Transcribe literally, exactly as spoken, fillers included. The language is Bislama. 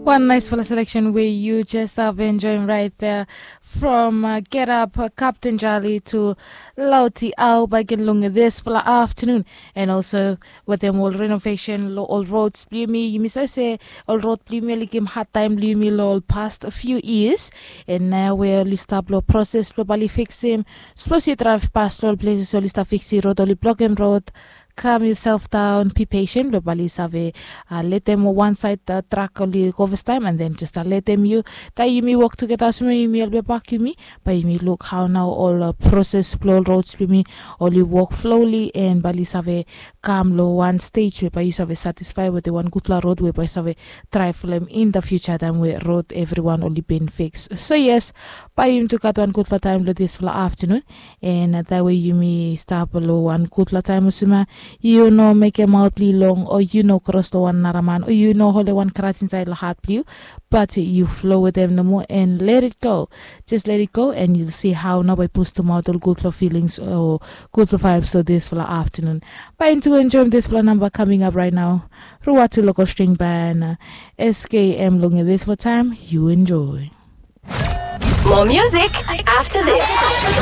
One nice fala selection where you just have enjoying right there from uh, Get Up, uh, Captain Charlie to Lauti Au back in Lung this fala afternoon. And also with them all renovation, lo all roads, blue me, you miss I say all road blue me, like him hard time blue me, lo all past a few years. And now we're only stop lo process, lo bali fix him. Suppose you drive past all places, only stop fix the road, only block him road. Calm yourself down, be patient, lo bali save uh, let them one side uh, truck only go first time and then just uh, let them you tai yumi work together suma yumi help back yumi. Bai yumi look how now all uh, process blo roads blo yumi only work slowly and bali save come lo one stage where bai you save satisfy with the one good la road where bai save try for them in the future time where road everyone only been fixed. So yes, bai yumi took out one good la time lo this la afternoon. And uh, that way yumi stop lo one good la time usuma. You know make a mouth long or you know cross lo one naraman or you know holy one crash inside la heart blue. But you flow with them no more and let it go. Just let it go and you'll see how now by push to mouth all good for feelings or good for vibes so this for the afternoon. By into enjoy this for number coming up right now. Ruatu local string band uh, S K M long this for time you enjoy. More music after this.